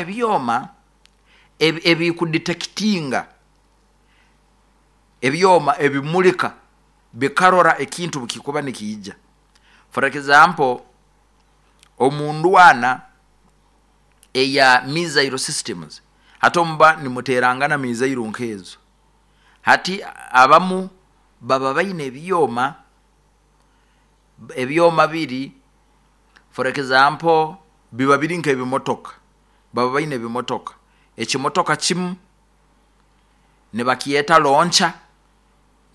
Ebyoma ebikudetekitinga, ebyoma ebimulika bikarora ekintu bukikuba nikiija. For example, omu ndwana eya missile systems, hati omuba nimuterangana missile nkezo, hati abamu baba baine ebyoma, ebyoma biri, for example, biba biri nk'ebimotoka, baba baine ebimotoka. Ekimotoka kimu nibakyeta launcher,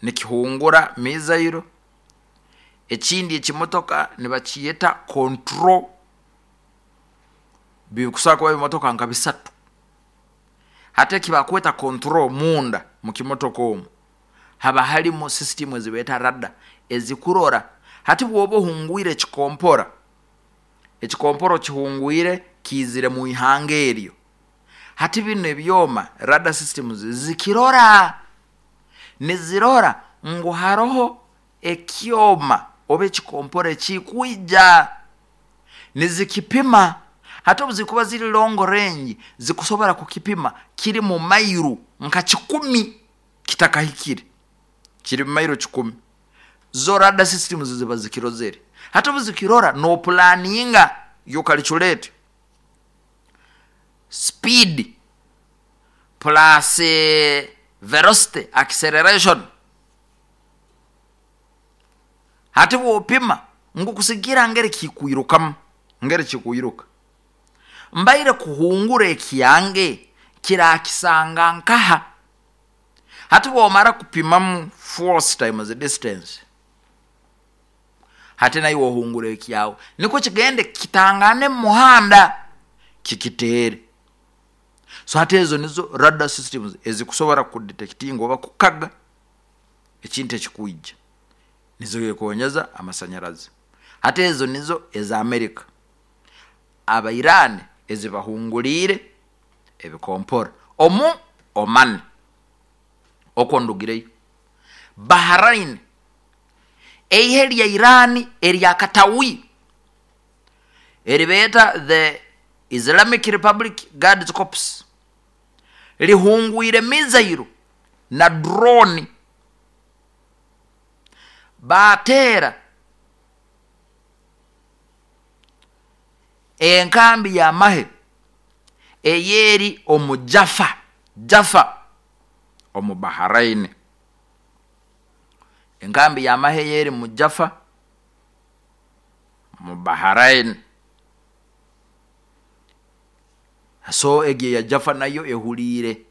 nikihungura missile, ekindi ekimotoka nibakyeta control, bikusobora kuba ebimotoka nka bisatu. Hati ekibakweta control, munda mukimotoka omu haba harimu system ezibeeta radar ezikurora. Hati bwoba ohungwire ekikompora, ekikompora okihungwire kiizire mu ihanga eryo, hati binu ebyoma radar systems zikirora, nizirora ngu haroho ekyoma oba ekikompora ekikwija, nizikipima. Hati obu zikuba ziri long range, zikusobora kukipima kiri mu mairu nka 100 kitakahikire, kiri mu mairu 100, zo radar systems ziba zikirozere. Hati obu zikirora, nopulaninga, you calculate speed plus velocity, acceleration. Hati bwopima ngu kusigira ngeri kikwirukamu, ngeri kikwiruka, mbaire kuhungura ekyange kirakisanga nkaha. Hati bwomara kupimamu force times distance, hati naiwe ohungura ekyawe nikwo kigende kitangane mumuhanda kikiteere. So hati ezo nizo radar systems ezikusobora kudetekitinga oba kukaga ekintu ekikwija, nizekonyeza amasanyarazi. Hati ezo nizo eza America. Aba Iran ezibahunguriire ebikompora omu Oman, okwo ndugireyo. Bahrain, eihe lya Iran erya Katawi eribeeta the Islamic Republic Guards Corps lihungwire missile na drone, baateera enkambi y'amahe eyeri omu Jaffa, Jaffa omu Bahrain. Enkambi y'amahe eyeri mu Jaffa mu Bahrain. So egi eya Jaffa nayo ehuliire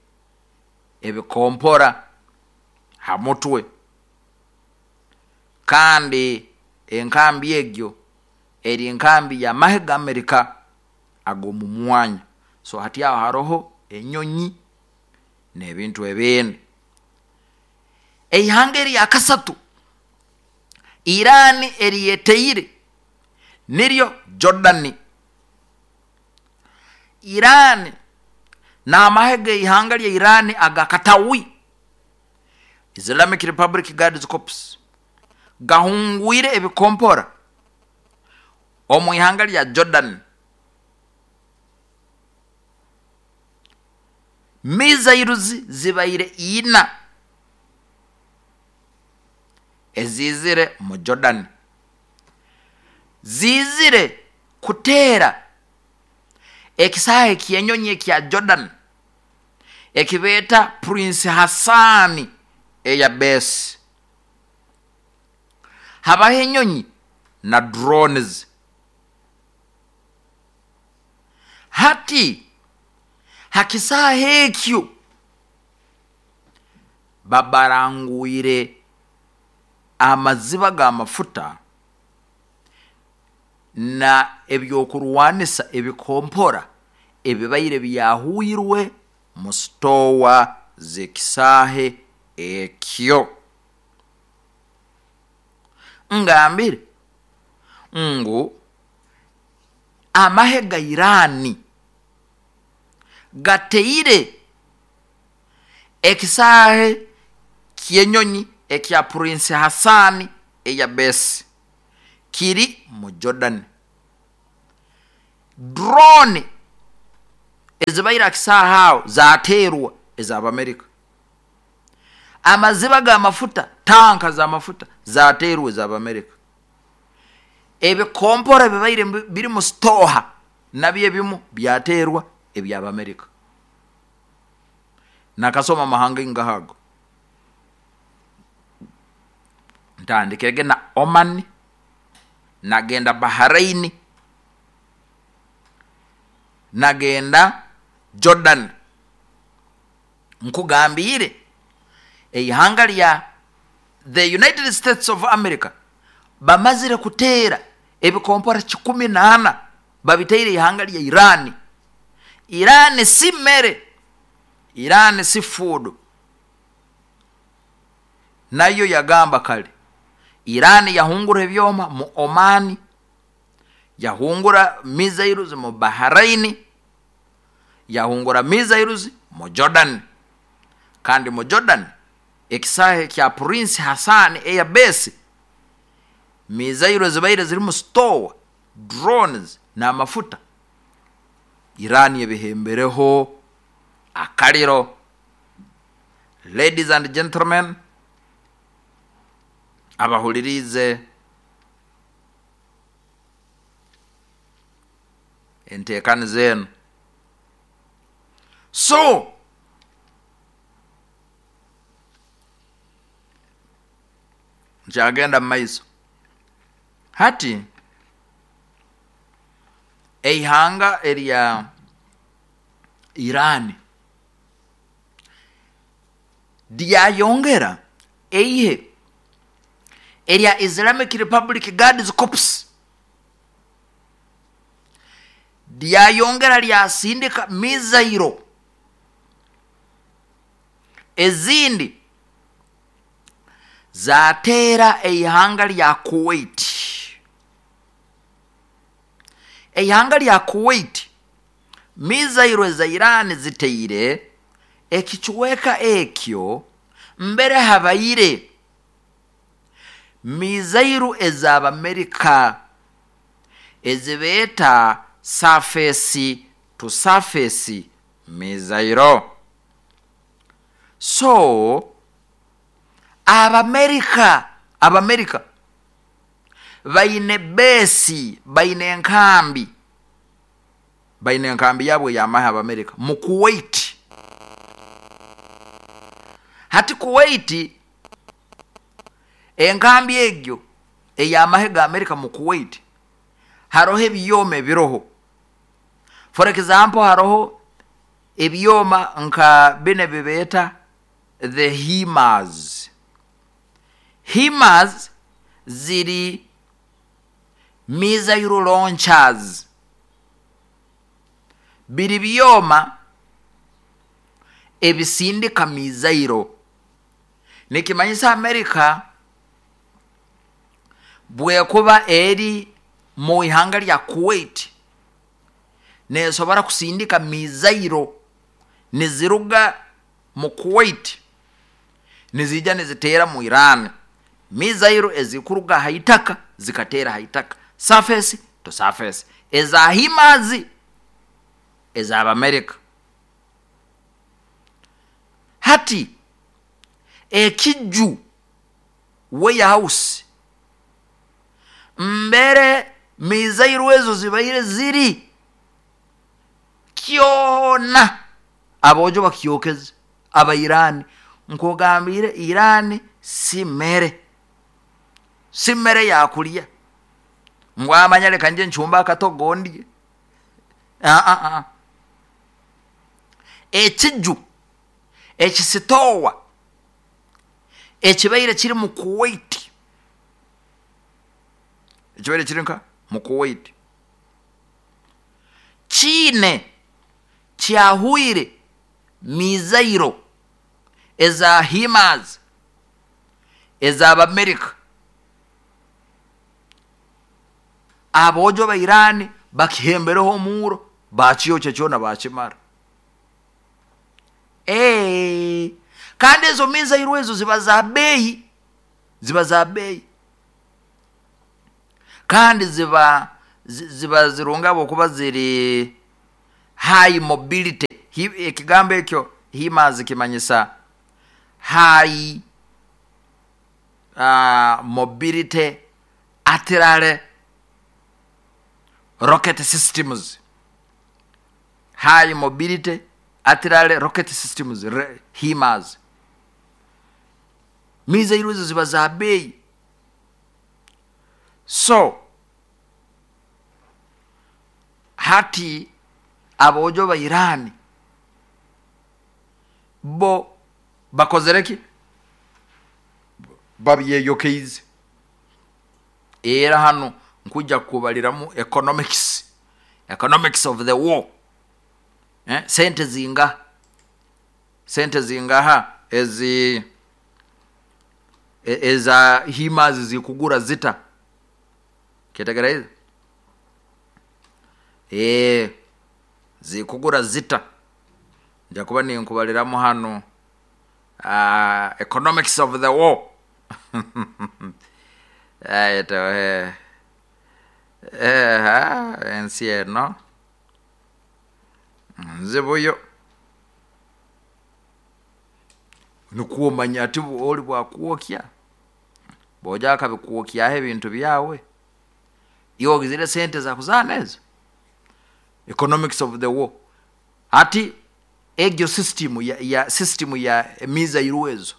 ebikompora ha mutwe, kandi enkambi egyo eri nkambi y'amahe ga Amerika ag'omu mwanya. So hati aho haroho enyonyi n'ebintu ebindi. Eihanga erya kasatu Iran eryeteire niryo Jordan. Iran n'amahe g'eihanga lya Iran aga Katawi, Islamic Republic Guards Corps, gahungwire ebikompora omu ihanga lya Jordan. Missiles zibaire ina eziizire mu Jordan, ziizire kuteera ekisaahe ky'enyonyi ekya Jordan ekibeeta Prince Hassan Air Base. Habaho enyonyi na drones. Hati ha kisaahe ekyo babarangwire amaziba g'amafuta na ebyokurwanisa ebikompora ebibaire byahwirwe mu sitoowa z'ekisaahe ekyo. Ngambire ngu amahe ga Iran gateire ekisaahe ky'enyonyi ekya Prince Hassan Air Base kiri mu Jordan. Drone Ezibaire akisaaha aho zateerwa ez'Abamerika. Amaziba g'amafuta, tanka z'amafuta zateerwa ez'Abamerika. Ebikompora bibaire biri mu sitoha nabyo ebimu byateerwa eby'Abamerika. Nakasoma amahanga ingaha ago? Ntandikirege na Oman, nagenda Bahrain, nagenda Jordan. Nkugambiire eihanga lya the United States of America bamazire kuteera ebikompora 14 babiteire ihanga lya Iran. Iran si mere, Iran si food. Nayo yagamba kale Iran yahungura ebyoma mu Oman, yahungura missiles mu Bahrain, yahungura missiles mu Jordan. Kandi mu Jordan ekisaahe ekya Prince Hassan Air Base, missiles zibaire zirimu store, drones n'amafuta, Iran ebihembereho akaliro. Ladies and gentlemen, abahuliriize enteekaniza enu. So, nkyagenda mu maiso. Hati eihanga erya Iran lyayongera eihe erya Islamic Republic Guards Corps lyayongera lyasindika mizairo ezindi zateera eihanga lya Kuwait. Eihanga lya Kuwait mizairo eza Iran ziteire ekicweka ekyo mbere habaire mizairu ez'Abamerika ezibeeta surface to surface mizairo. So Abamerika baine base, baine enkambi, baine enkambi yabo ey'amahe Abamerika mu Kuwait. Hati Kuwait, enkambi egyo ey'amahe ga Amerika mu Kuwait, haroho ebyoma ebiroho. For example, haroho ebyoma nka binu ebibeeta the HIMARS. HIMARS ziri missile launchers. Biri byoma ebisindika mizairo. Nikimanyisa Amerika bwekuba eri mu ihanga lya Kuwait nesobora kusindika mizairo niziruga mu Kuwait nizija niziteera mu Iran. Mizairo ezikuruga haitaka zikateera haitaka, surface to surface, eza HIMARS ez'Abamerika. Hati ekiju warehouse mbere mizairo ezo zibaire ziri kyona abojo bakyokeze aba Iran. Nkugambire Iran si mere, si mere yakulya ngu amanya leka nje nchumba akatogo ndye. Ekiju ekisitowa ekibaire kiri mu Kuwait, ekibaire kiri nka mu Kuwait kiine kyahwire mizairo eza HIMARS ez'Abamerika. Abojo ba Iran bakihembereho omuuro bakiyokya kyona bakimara. Kandi ezo mizairo ezo ziba za bei, ziba za bei, kandi ziba zirunga habwokuba ziri High mobility. Ekigambo ekyo HIMARS kimanyisa high mobility artillery rocket systems. High mobility artillery rocket systems, HIMARS. Mizairo ezo ziba za beeyi. So hati aboojo ba Iran bo bakozere ki? Babyeyokeize. Era hanu nkwija kukubaliramu economics, economics of the war. Sente zingaha? Sente zingaha ezi eza HIMARS zikugura zita? Kyetegereza? Zikugura zita? Nja kuba ninkubaliramu hanu economics of the war. Ensi eno nzibuyo. Nikwo omanya ati oli bwakwokya, boja akabikwokyaho ebintu byawe, iwe ogizire sente za kuzaana ezo. Economics of the war. Hati egyo system ya system ya emizairo ezo,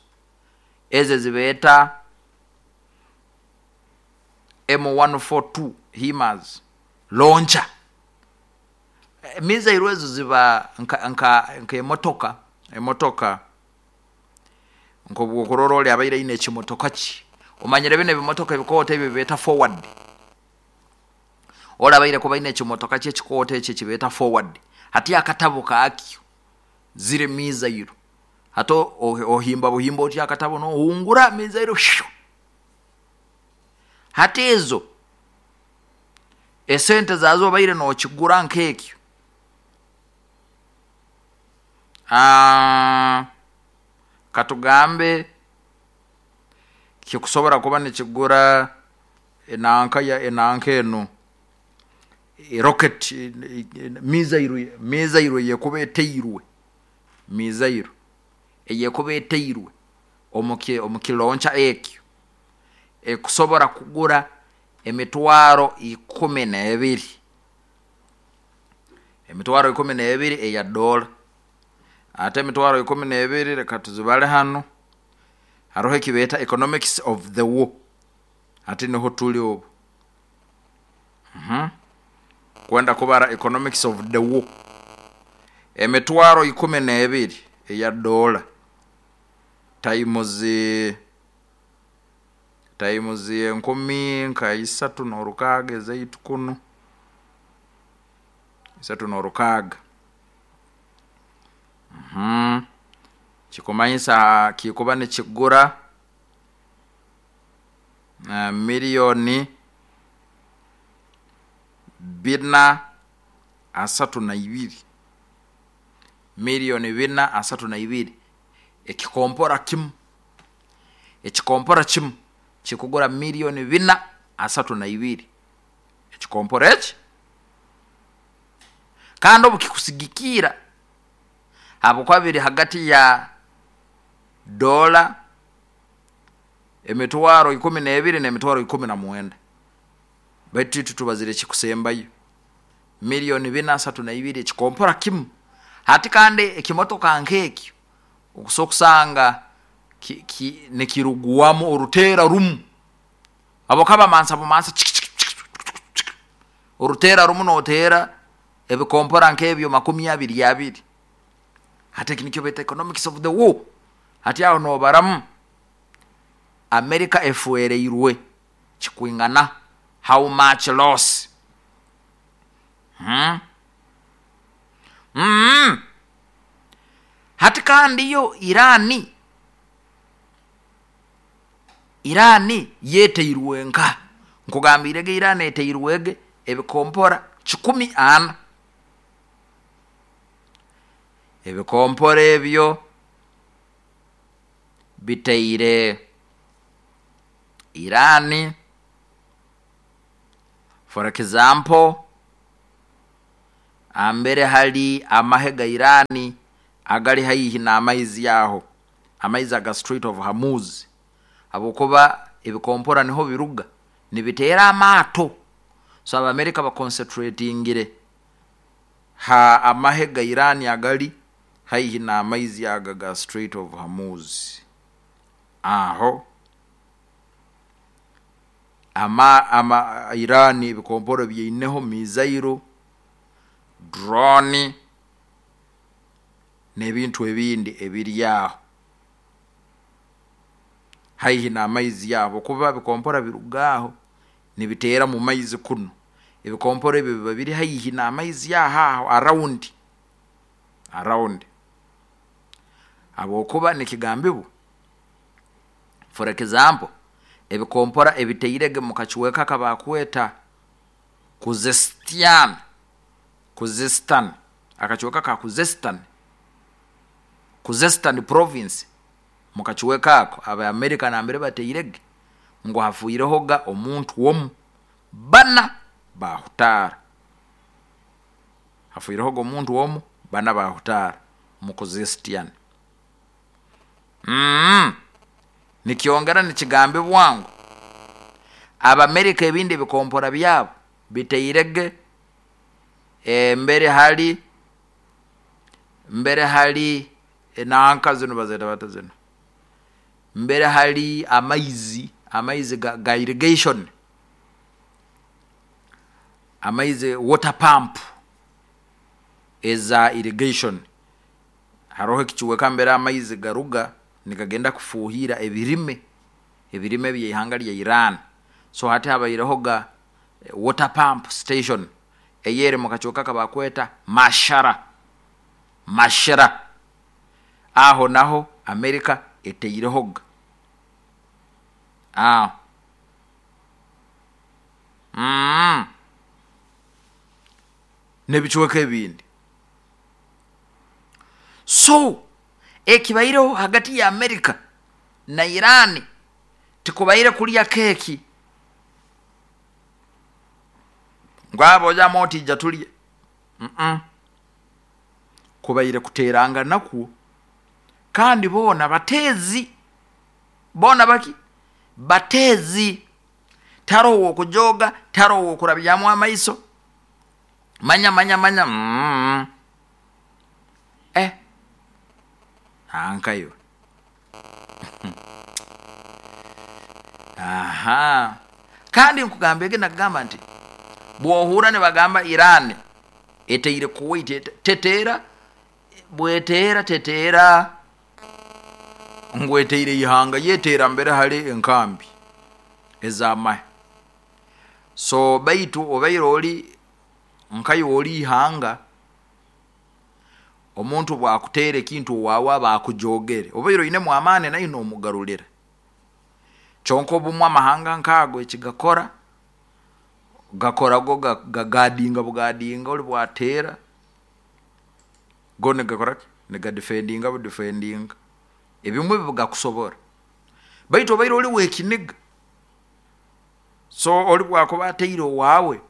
ezo ezibeeta M142 HIMARS launcher. Emizairo ezo ziba nka emotoka, emotoka nk'obwokurora oli abaire aine ekimotoka kye. Omanyire bino ebimotoka ebikooto ebi beeta forward. Oli abaire kuba aine ekimotoka kye ekikooto ekyo ekibeeta forward. Hati akatabo kakyo ziri mizairo. Hati ohimba buhimba oti akatabo nohungura mizairo. Hati ezo esente zazo obaire nokigura nk'ekyo. Katugambe kikusobora kuba nikigura enanka ya enanka enu rocket mizairo, mizairo eyekuba eteirwe, mizairo eyekuba eteirwe omu kiloncha ekyo ekusobora kugura emitwaro 12, emitwaro 12 eya dola. Ate emitwaro 12 leka tuzibale hanu, haroho ekibeeta economics of the war. Hati niho tuli obu. Kwenda kubara economics of the war. Emitwaro 12 eya dola times enkumi nka isatu n'orukaaga ezaitu kunu, isatu n'orukaaga. Kikumanyisa kikuba nikigura milioni 432. Milioni 432. Ekikompora kimu. Ekikompora kimu kikugura milioni 432. Ekikompora eki? Kandi obu kikusigikiira habwokuba biri hagati ya dola emitwaro 12 n'emitwaro 19. Baitu itwe tubazire ekikusembayo. Milioni 432 ekikompora kimu. Hati kandi ekimotoka nk'ekyo okusobola kusanga nikirugwamu oruteera rumu. Habwokuba bamansa bumansa oruteera rumu noteera ebikompora nk'ebyo makumi abiri abiri. Hati eki nikyo beeta economics of the war. Hati aho nobaramu America efwereirwe kikwingana how much loss. Hati kandi yo Irani yeteirwe nka nkugambirege Irani eteirwege ebikompora 140. Ebikompora ebyo biteire Irani, for example, Ambere hali amahe ga Irani agali haihi n'amaizi aho, amaizi aga Strait of Hormuz, habwokuba ebikompora niho biruga nibiteera amaato. So Abamerika baconcentratingire ha amahe ga Irani agali haihi n'amaizi aga ga Strait of Hormuz. Aho ama, ama Irani ebikomporo byaineho mizairo, drone n'ebintu ebindi ebiri aho haihi n'amaizi aho, kuba bikompora biruga aho nibiteera mu maizi kunu. Ebikomporo ebyo biba biri haihi n'amaizi aho aho around, habwokuba nikigambibwa, for example, ebikompora ebiteirege mu kacweka kabakweta Khuzestan, Khuzestan, akacweka ka Khuzestan, Khuzestan province, mu kacweka ako Abamerika nambere bateirege, ngu hafiirehoga omuntu omu, bana bahutaara. Hafiirehoga omuntu omu, bana bahutaara mu Khuzestan. Nikyongera nikigambibwa ngu Abamerika ebindi ebikompora byabo biteirege mbere hali enanka zinu bazeeta bata zinu, mbere hali amaizi, amaizi ga irrigation, amaizi water pump eza irrigation. Haroho ekicweka mbere amaizi garuga nigagenda kufuuhirra ebirime, ebirime by'ihanga lya Iran. So hati habairehoga water pump station eyeri mu kacweka akabakweta Mashara, Mashara, aho naho Amerika eteirehoga aho. N'ebicweka ebindi. So ekibaireho hagati ya Amerika na Iran tikubaire kulya keeki ngu aba ojamu oti ija tulye, kubaire kuteerangana kwo, kandi boona bateezi, boona baki bateezi, tiharoho ow'okujooga, tiharoho ow'okurabyamu amaiso, manya manya manya eh ankaiwe aha. Kandi nkugambege nakugamba nti bwohurra nibagamba Iran eteire Kuwait, teteera, bweteera teteera ngu eteire ihanga, yo eteera mbere hali enkambi ez'amahe. So baitu obaire oli nkaiwe oli ihanga, omuntu obwakuteera ekintu owaawe aba akujoogere, obaire oinemu amaani naiwe nomugarulira. Kyonka obumu amahanga nk'ago ekigakora, gakora go gagadinga bugadinga oli bwateera, go nigakora ki, nigadifendinga budifendinga, ebimwe bigakusobora. Baitu obaire oli w'ekiniga, so oli bwakuba ateire owaawe,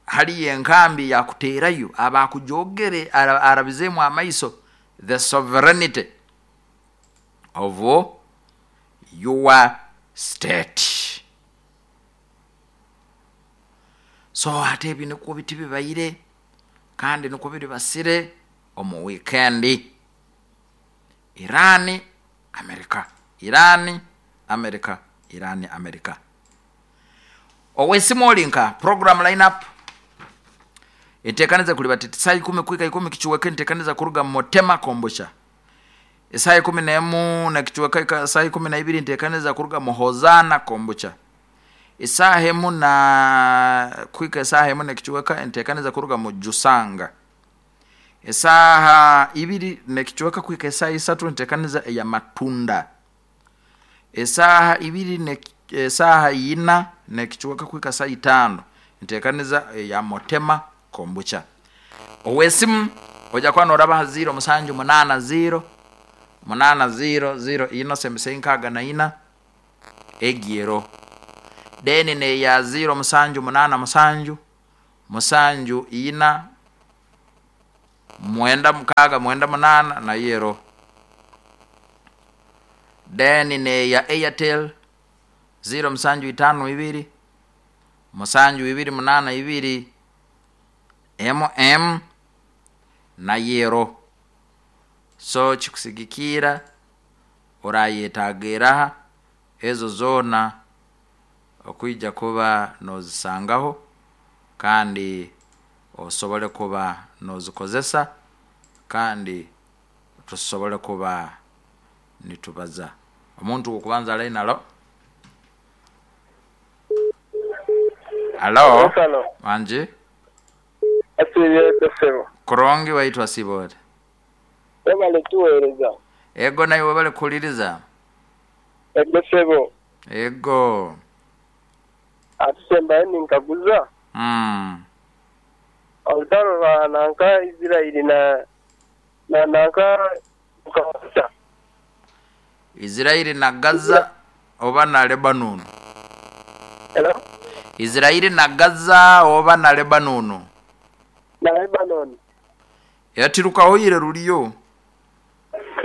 haliyo enkambi eyakuteerayo, aba akujoogere, arabizeemu amaiso the sovereignty of your state. So hati ebi nikwo biti bibaire kandi nikwo biribasire omu wiikendi. Iran, Amerika, Iran, Amerika, Iran, Amerika. Ow'esimu oli nka program line up enteekaniza kuliba titi saaha ikumi kuhika ikumi kicweka enteekaniza kuruga Motema Kombucha. Esaaha 11 n'ekicweka hika saaha 12 enteekaniza kuruga mu Hozaana Kombucha. Esaaha emu na kuhika esaaha emu n'ekicweka enteekaniza kuruga mu Jusanga. Esaaha ibiri n'ekicweka kuhika esaaha isatu enteekaniza eya Matunda. Esaaha ibiri ne esaaha ina n'ekicweka kuhika saaha itaano enteekaniza eya Motema Kombucha. Ow'esimu oija kuba nooraba ha 0 musanju munaana 0 munaana 0 0 ina sembesa nkaaga na ina egi eroho. Then n'eya 0 musanju munaana musanju musanju ina. 96 98 nayo eroho. Then neya Airtel 0752 7282 mm nayo eroho. So kikusigikirra orayetaaga eraha, ezo zoona okwija kuba nozisangaho kandi osobole kuba nozikozesa, kandi tusobole kuba nitubaza. Omuntu wokubanza ha line, halo? Halo? Halo. Wangi? Asiibye sebo. Kurungi waitu, asiiba ota? Webale tuweereza. Ego, naiwe webale kuhuliriza. Ego sebo. Ego. Atusembayo ninkaguza. Olutaro rwa nanka Israeli na nanka Gaza. Israeli na Gaza oba na Lebanon? Hello? Israeli na Gaza oba na Lebanon? Na Lebanon. Yatirukahoire ruliyo.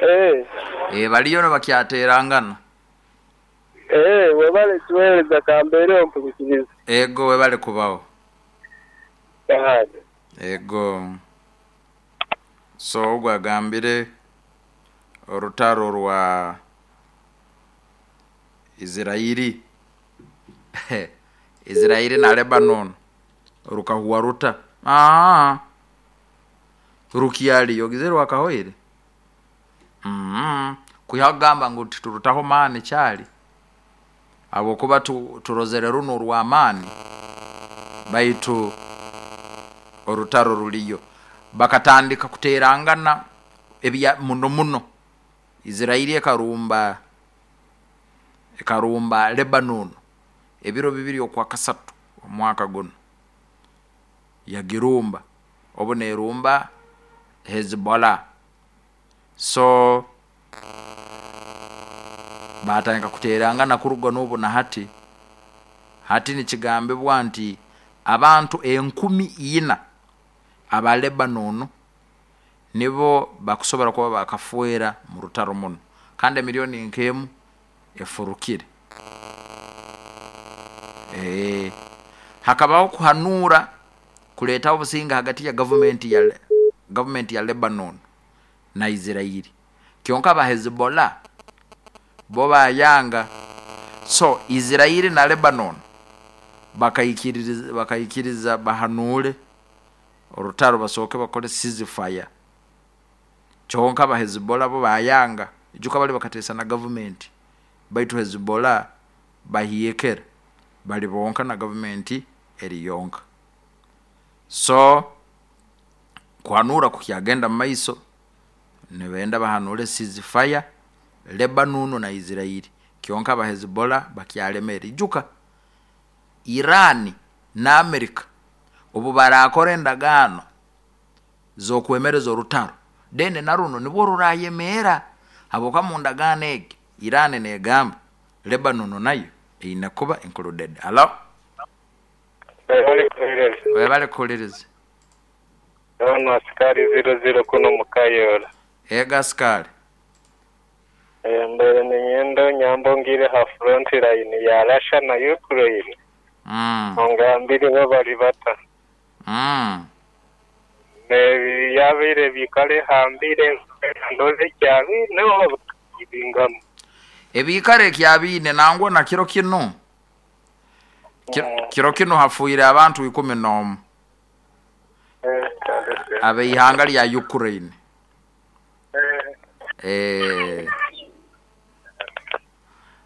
Eh. Baliyo nibakyaterangana. Webale tuweereza, kambeere ompulukiriza. Ego, webale kubaho. Ahadi. Ego. So ogwo agambire orutaro rwa Israeli na Lebanon rukahuwa ruta? Rukyaliyo gize rwakahoire. Kwiha kugamba ngu titurutaho maani kyali habwokuba turozere runu orw'amaani, baitu orutaro ruliyo. Bakatandika kuterangana ebya muno muno. Israeli ekarumba Lebanon ebiro 2 okwakasatu omwaka gunu, yagirumba obu nerumba Hezbollah. So batandika kuterangana kuruga n'obu na hati. Hati nikigambibwa nti abantu 4,000 aba Lebanon nibo bakusobora kuba bakafwera mu rutaro muno, kandi emiliyoni nk'emu efurukire. Hakabaho kuhanuura kuleetaho obusinge hagati ya gavumenti ya Lebanon na Israeli, kyonka aba Hezbollah bo bayanga. So Israeli na Lebanon bakaikiriza bahanuure orutaro, basooke bakole ceasefire, kyonka aba Hezbollah bo bayanga. Ijuka bali bakateesa na gavumenti, baitu Hezbollah bahiekera bali bonka na gavumenti eri yonka. So kuhanura kukyagenda mu maiso, nibenda bahanure ceasefire Lebanon na Israeli, kyonka aba Hezbollah bakyalemere. Ijuka Iran na America obu barakora endagaano z'okwemereza orutaro, then na runo nibwo rurayemeera, habwokuba mu ndagaano egi Iran negamba Lebanon nayo eine kuba included. Halo? Webale kuhuliriza. Ono asikari 00 kuno mukayora. Ega asikari. Mbere ninyenda nyambo ngire ha front line ya Russia na Ukraine. Ongambire bo bali bata. Yabire bikale hambire ndoze kyabine no bingamo. Ebikare kyabine nangwa na kiro kino. Kiro kino hafuire abantu 11. Abeihanga lya Ukraine.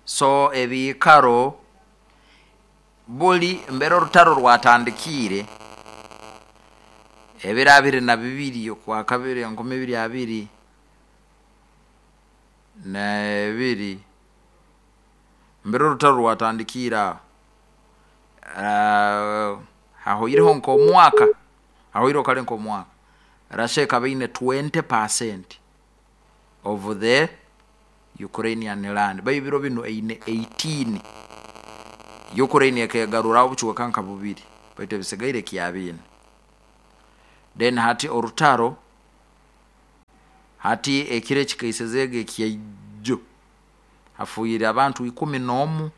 So ebikaro buli mbere orutaro rwatandikire ebiro 22 okwa kabiri 2022, mbere orutaro rwatandikire aho, hahoireho nk'omwaka, hahoireho kale nk'omwaka, Russia ekaba eine 20% of the Ukrainian land, baitu ebiro binu eine 18. Ukraine ekegaruraho obucweka nka bubiri, baitu ebisigaire kyabine. Then hati orutaro Hati ekiro ekikaisezege ekyaijo hafuire abantu 11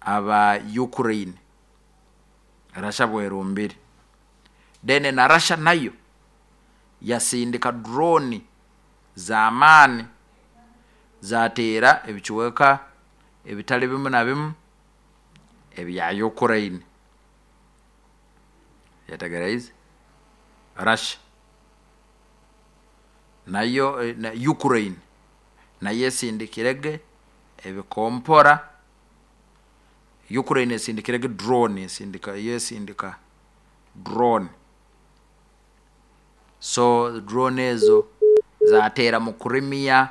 aba Ukraine, Russia bwerumbire. Then na Russia nayo yasindika drone z'amaani zateera ebicweka ebitali bimu na bimu ebya Ukraine. Yetegereize? Russia nayo na Ukraine nayo esindikirege ebikompora. Ukraine esindikirege drone, esindika yesindika drone. So drone ezo zateera mu Crimea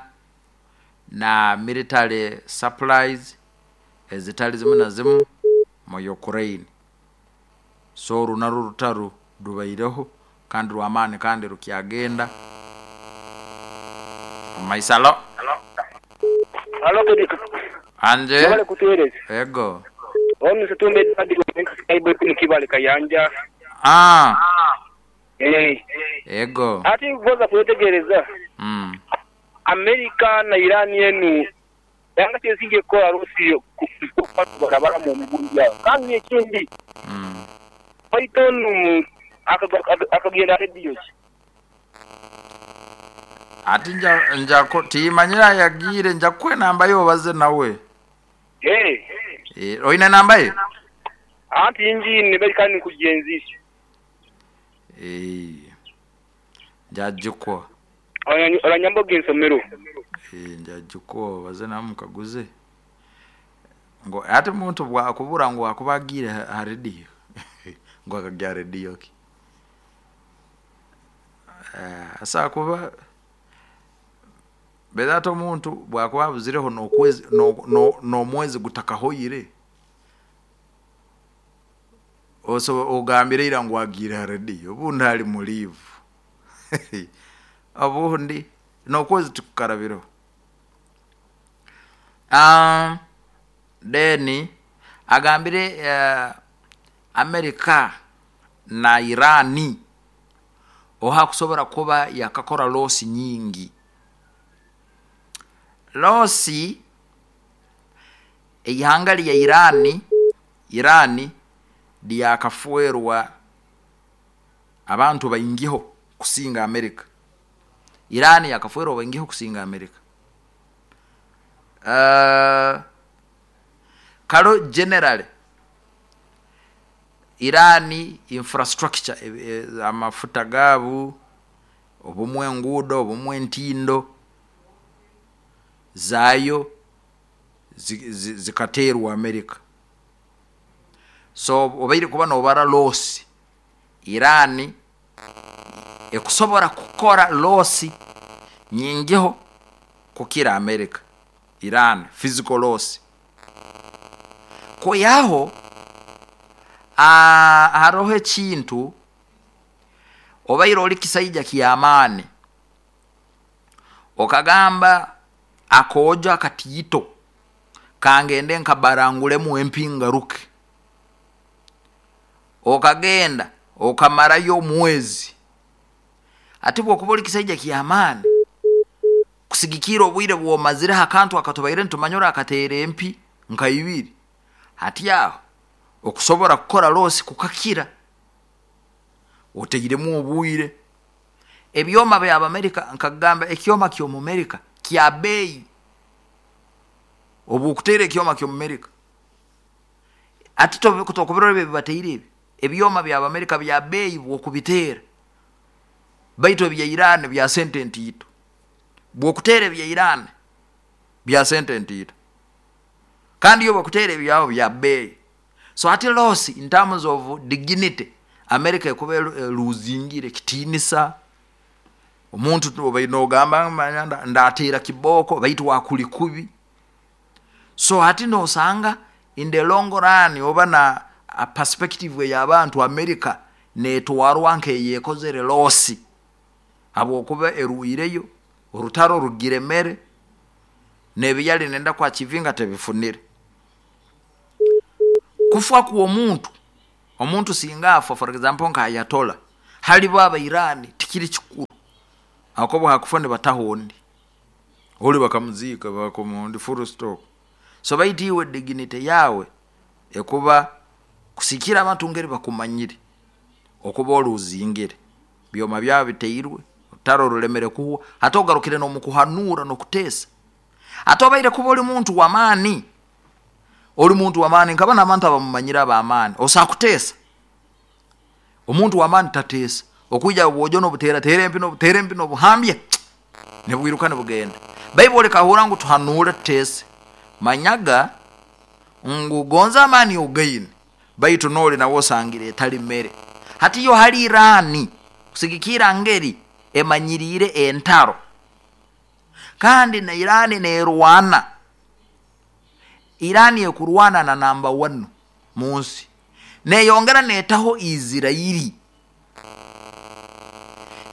na military supplies ezitali zimu na zimu mu Ukraine. So oru narwo rutaro rubaireho kandi rw'amaani kandi rukyagenda omu maiso. Alo. Alo Kedi. Anje. Mwebale kutuwereza. Ego. Ono Setumba Edward Skyboy kunu Kibale Kayanja. Ah. Eh. Ego. Ati voza kwetegereza. America na Iran enu yanga kyesinga ekola Rusi barabara mu mugundi awo. Kandi ekindi Python akagenda radio ki? Ati nja timanyira yagiire, nja kukuwa enamba ye obaze nawe. Eh. Oine enamba ye? Anti injini bali kandi nkugenzisha. Njagikuwa. Oranyamba ogensomero. Njagikuwa obaze nawe mukaguze. Ngo ate muntu bwakubura ngo akubagiire ha radio. Ngo akagya radio ki? Asa kuba beza omuntu bwakuba abuzireho n'okwezi n'omwezi gutakahoyire. Oso ogambire ira ngu agiire ha radio, obundi ali mulivu. Obundi n'okwezi tukukarabiro. Then agambire Amerika na Irani oha kusobora kuba yakakora losi nyingi. Losi eihanga lya Irani lyakafuerwa abantu baingiho kusinga Amerika. Irani yakafuerwa baingiho kusinga Amerika. Kalo general Irani infrastructure amafuta gabu, obumwe enguudo, obumwe entindo zayo zikateerwa Amerika. So obaire kuba nobara losi Irani ekusobora kukora losi nyingiho kukira Amerika. Iran physical loss. Koyaho haroho ekintu obaire oli kisaija ky'amaani okagamba akoojo akatiito kangende nkabarangulemu empingaruke, okagenda okamarayo omwezi. Ati bwokuba oli kisaija ky'amaani kusigikira obwire bwomazire akantu akatubaire nitumanyura akateera empi nka ibiri, hati aho okusobora kukora losi kukakira oteiremu obwire. Ebyoma bya Amerika nkagamba ekyoma ky'omu Amerika kya bei, obu okuteera ekyoma ky'omu Amerika ati tokubirora ebyo bibateire ebi ebyoma bya Amerika bya bei bwokubiteera, baitu ebya Iran bya sente ntiito. Bwokuteera ebya Iran bya sente ntiito, kandi yo bwokuteera ebyabo bya bei. So ati loss in terms of dignity America ekuba eluzingire kitiinisa. Omuntu obaire nogamba manya ndateera kiboko baitu wakuli kubi. So hati nosanga in the long run oba na a perspective ey'abantu America netwarwa nkeyekozere losi habwokuba eruireyo orutaro rugiremere n'ebiyali nenda kwachivinga tebifunire. Kufa kw'omuntu, omuntu singa afa for example nka Ayatollah, halibo aba Iran tikiri kikuru. Akobo hakufa nibataho ondi oli bakamuziika bakomundi full stop. So baitu iwe dignity yawe ekuba kusikira abantu ngeri bakumanyire okuba oluzingire byoma byawe biteirwe orutaro rulemere kuhwa, hati ogarukire n'omukuhanura n'okuteesa. Ate obaire kuba oli muntu w'amaani, oli muntu w'amaani nkaba n'abantu abamumanyire ab'amaani, osobola kuteesa. Omuntu w'amaani tateesa, okwija bwojo n'obuteerateera empi n'obuteera empi n'obuhambya nibwiruka nibugenda. Baibuli ekahurra ngu tuhanuure tuteese. Manyaga ngu gonza amaani ogaine, baitu nooli nawe osangire etali mere. Hati yo hali Irani kusigikirra ngeri emanyiriire entaro, kandi na Irani neerwana, Irani ekurwana na namba 1 mu nsi, neeyongera neetaho Isirairi,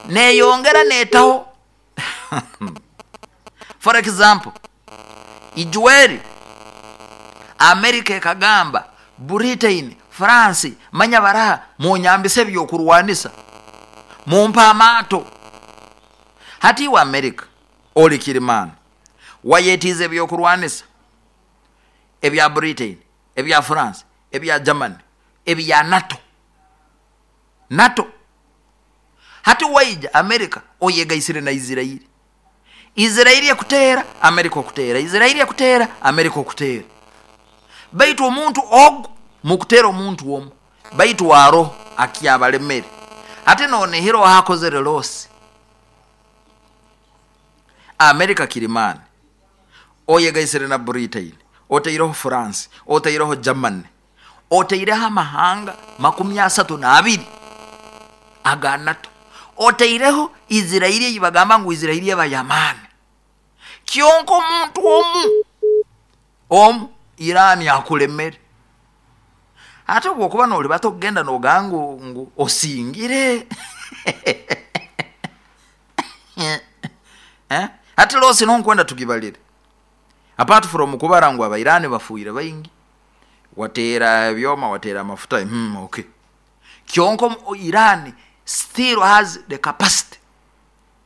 neeyongera neetaho for example Ijweri Amerika ekagamba Britain, France, manya baraha munyambise ebyokurwanisa, mumpe amaato. Hati iwe Amerika oli kirimaani, wayetiize ebyokurwanisa ebya Britain, ebya France, ebya Germany, ebya NATO. NATO. Hati waija Amerika oyegaisire na Isirairi. Isirairi ekuteera, Amerika okuteera, Isirairi ekuteera, Amerika okuteera. Baitu omuntu ogu mukuteera omuntu omu, baitu aroho akyabalemere. Hati nonihira oha akozere losi. Amerika kirimaani, oyegaisire na Britain, otaireho France, otaireho Germany, otaireho amahanga 32 aga NATO, otaireho Isirairi ei bagamba ngu Isirairi eba y'amaani. Kyonka omuntu omu omu Irani akulemere. Ate obwokuba nolibata okugenda nogamba ngu osingire hati losi nonkwenda tugibalire apart from kubara ngu Abairani bafuire baingi, wateera ebyoma, wateera amafuta, okay. Kyonka Iran still has the capacity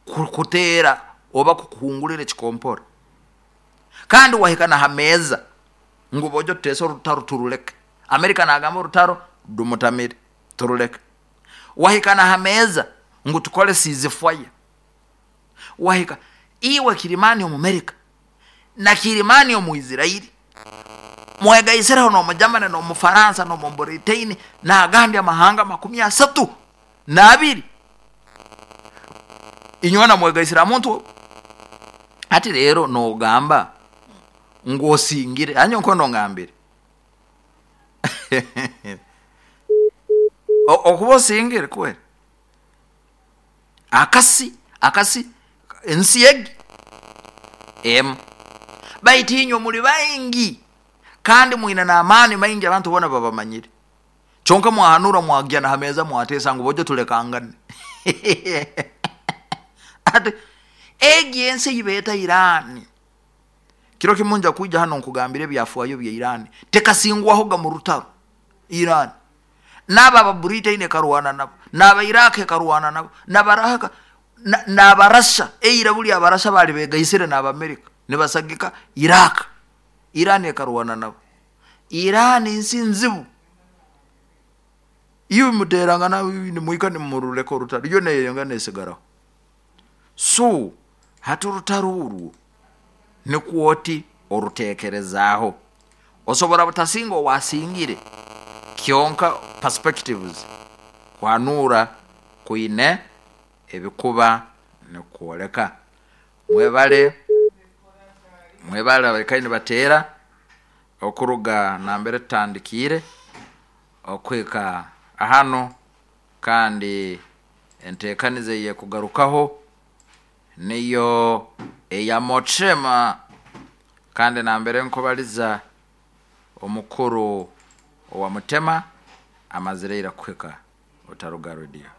kuteera oba kukuhungurira ekikompora. Kandi wahika na ha meeza ngu bojo tuteese orutaro turuleke. Amerika nagamba orutaro rumutamire turuleke. Wahika na ha meeza ngu tukole ceasefire. Wahika iwe kirimaani omu Amerika na kirimaani omu Isirairi mwegaisireho n'omu Germany n'omu Faransa n'omu Britain n'agandi amahanga 32, inywena mwegaisire ha muntu omu. Hati rero nogamba ngu osingire, hanyuma nkwenda ongambire okuba osingire kweri akasi akasi ensi egi emu, baitu inywe muli baingi kandi mwine n'amaani maingi, abantu boona babamanyire. Kyonka mwahanura mwagya na ha meeza mwateesa ngu bojo tulekangane. Ati egi ensi ei beeta Irani, kiro kimu nja kwija hanu nkugambire ebyafaayo bya Irani, tekasingwahoga mu rutaro Irani. N'abo aba Britain ekarwana nabo, n'aba Iraq ekarwana nabo, n'abarahaka n'Abarasha, eira buli Abarasha baali begaisire n'Abamerika nibasagika Iraq, Iran ekarwana nabo. Iran nsi nzibu, iwe muteerangana nimwika nimuruleka orutaro, yo neyeyongera nesigaraho. So hati orutaro orwo nikwo oti oruteekerezaaho. Osobora butasinga owasingire, kyonka perspectives kuhanuura kwine ebikuba nikukwoleka. Mwebale, mwebale abaikaire nibateera okuruga nambere tutandikiire okuhika hanu, kandi enteekaniza ey'ekugarukaho niyo eya Motrema, kandi nambere nkubaliza omukuru owa Mutema amazire ira kuhika. Otaruga rediyo.